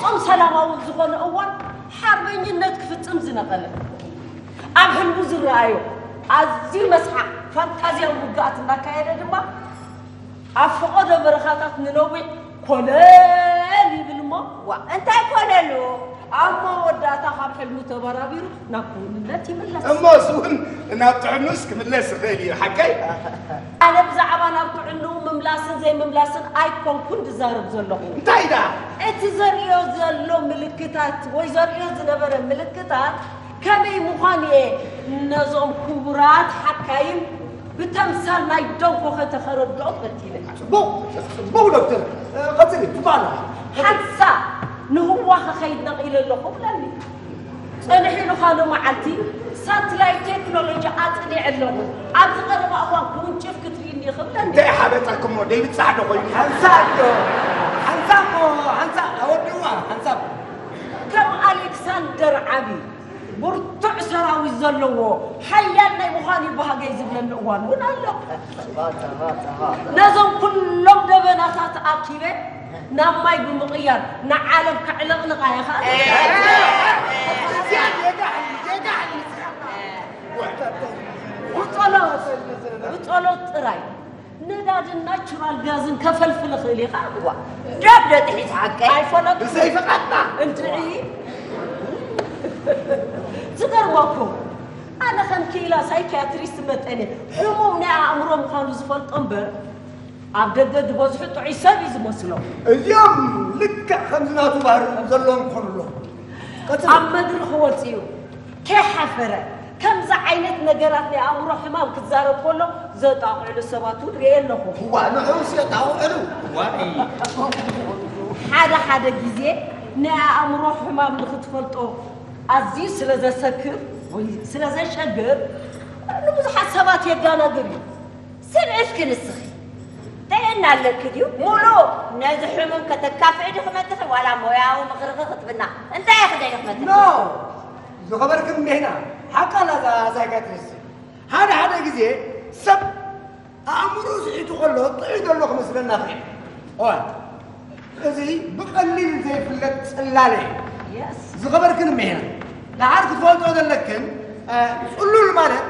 ፍጹም ሰላማዊ ኣብ ዝኾነ እዋን ሓርበኝነት ክፍጽም ዝነቐለ፣ ኣብ ሕልሙ ዝረኣዮ ኣዝዩ መስሓቕ ፋንታዝያዊ ውግኣት እናካየደ ድማ ኣብ ፈቐዶ በረኻታት ንነዊሕ ኮለል ይብል እሞ፣ ዋ እንታይ ኮለሉ? ኣብ መወዳእታ ካብ ሕልሙ ተበራቢሩ ናብ ክውንነት ይምለስ። እሞ እሱ እውን ናብ ጥዕኑስ ክምለስ ይኽእል እዩ፣ ሓቀይ? ኣነ ብዛዕባ ናብ ጥዕንኡ ምምላስን ዘይምምላስን ኣይኮንኩን ዝዛረብ ዘለኹ። እንታይ ደኣ? እቲ ዘርእዮ ዘሎ ምልክታት ወይ ዘርእዮ ዝነበረ ምልክታት ከመይ ምዃኑ እየ ነዞም ክቡራት ሓካይም ብተምሳል ናይ ደንኮኸ ተኸረድኦም ፈቲነ። ጽቡቕ፣ ጽቡቕ ዶክተር፣ እ፣ ቀጽሊ፣ ጽቡቕ ኣለኻ። ሓንሳብ ንህዋ ክኸይድ ነቒለ ኣለኹ ብለኒ። ጸኒሑ ኢሉ ካልእ መዓልቲ ሳትላይት ቴክኖሎጂ ኣጽኒዐ ኣለኹ። ኣብዚ ቀረባ እዋን ክውንጭፍ ክትርእይኒ ኢኺ ብለኒ። እንታይ ሓበጠክሞ? ደይብጻሕ ዶ ኮይኑ? ሓንሳብ ዶ? ሓንሳብ እሞ፣ ሓንሳብ ኣወድዋ፣ ሓንሳብ። ከም ኣሌክሳንደር ዓቢ ብርቱዕ ሰራዊት ዘለዎ ሓያል ናይ ምዃን እዩ ባህገይ ዝብለኒ እዋን እውን ኣሎ። ነዞም ኩሎም ደበናታት ኣኪበ ናብ ማይ ብምቕያር ንዓለም ከዕለቕልቓ እየ ኸኣ። እዚኣ ጌጋ ሓይሊ፣ ጌጋ ሓይሊ። ብጸሎት፣ ብጸሎት ጥራይ ነዳድን ናቹራል ጋዝን ከፈልፍል እኽእል እየ ኸኣ። ዋ፣ ዶብ ዶ ጥሒስ ሓቀይ? ኣይፈለጥኩ። ብዘይ ፍቓድና። እንድዒ። ዝገርመኩም፣ ኣነ ከም ክኢላ ሳይኪያትሪስት መጠን እየ ሕሙም ናይ ኣእምሮ ምዃኑ ዝፈልጦ እምበር፣ ኣብ ደገ ዝበዝሑ ጥዑይ ሰብ እዩ ዝመስሎም። እዚኦም ልክዕ ከምዚ ናቱ ባህሪ ዘለዎም ክኾኑ ኣለዎም። ቀጽሎ። ኣብ መድረኽ ወጺኡ ከይሓፈረ ከምዚ ዓይነት ነገራት ናይ ኣእምሮ ሕማም ክዛረብ ከሎ ዘጣቕዕሉ ሰባት እውን ርእየ ኣለኹ። እዋ፣ ንዑስ የጣቕዕሉ። እዋይ። ሓደ ሓደ ግዜ ናይ ኣእምሮ ሕማም ንኽትፈልጦ ኣዝዩ ስለ ዘሰክፍ ወይ ስለ ዘሸግር ንብዙሓት ሰባት የደናግር እዩ። ስምዒትኪ ንስኺ ጥዕና ኣለኪ ድዩ? ሙሉ ነዚ ሕሙም ከተካፍዒ ዲኺ መጺኺ ዋላ ሞያዊ ምኽርኺ ክትብና? እንታይ ኢኺ ደሊኺ መጺኺ? ኖ! ዝኸበርክን እኒህና ሓቃ ኣላ እዛ ሳይካትሪስት። ሓደ ሓደ ግዜ ሰብ ኣእምሮ ስሒቱ ከሎ ጥዑይ ዘሎ ክመስለና ይኽእል። እዋ፣ እዚ ብቐሊል ዘይፍለጥ ጽላለ እዩ። የስ። ዝኸበርክን እኒህና፣ ደሓር ክትፈልጦ ዘለክን፣ እ፣ ጽሉል ማለት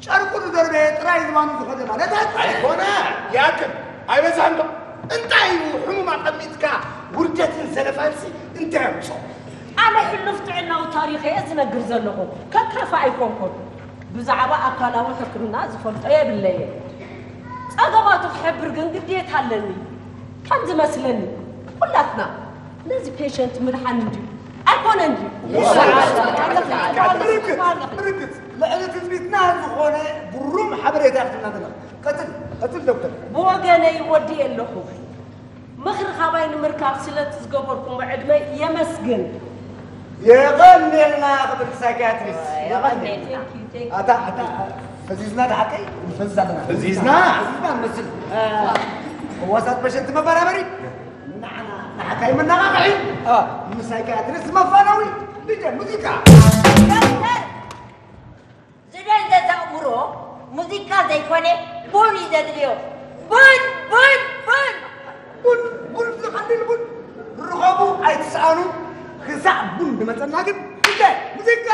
ጨርቁ ዝደርበየ ጥራይ ዝባኑ ዝኸደ ማለት ኣይኮነን። ኣይኮነ፣ ይኣክል፣ ኣይበዝሐን ዶ? እንታይ እዩ ሕሙም ኣቐሚጥካ ውርደትን ዘለፋንሲ እንታይ ኣምጾ? ኣነ ሕሉፍ ጥዕናዊ ታሪኸ እየ ዝነግር ዘለኹ፣ ከካፋ ኣይኮንኩን። ብዛዕባ ኣካላዊ ሕክምና ዝፈልጦ የብለየ። ጸገማቱ ክሕብር ግን ግዴታ ኣለኒ። ከም ዝመስለኒ፣ ኩላትና ነዚ ፔሸንት ምድሓን እንድዩ ኣይኮነን ድዩ? ርግጽ፣ ርግጽ። ልዕሊ ትጽቢትና ዝኾነ ግሩም ሓበሬታ ክትህበና ዘለኻ። ቀጽል፣ ቀጽል ዶክተር። ብወገነይ ወዲኤ ኣለኹ። ምኽሪ ካባይ ንምርካብ ስለቲ ዝገበርኩሞ ዕድመ የመስግን። የቐንየልና ክብርቲ ሳይክያትሪስት። የቐንየልና። Thank you, thank you. ኣታ፣ ኣታ፣ ፈዚዝና ደሓቀይ? ንፈዝዝ ኣለና። ፈዚዝና? ፈዚዝና ንመስል። እ፣ ፈዋሳት ፔሸንት መበራበሪ። ንዓና፣ ንሓካይ መነቓቕሒ። እ፣ ንሳይክያትሪስት መፋነዊ። ዲጀ ሙዚቃ። ዶክተር! ዝደንዘዘ ኣእምሮ ሙዚቃ ዘይኮነ ቡን እዩ ዘድልዮ። ቡን፣ ቡን፣ ቡን! ቡን፣ ቡን፣ ዝቐልል ቡን ርኸቡ ኣይትስኣኑ። ክሳዕ ቡን ዝመጸና ግን ግደ ሙዚቃ!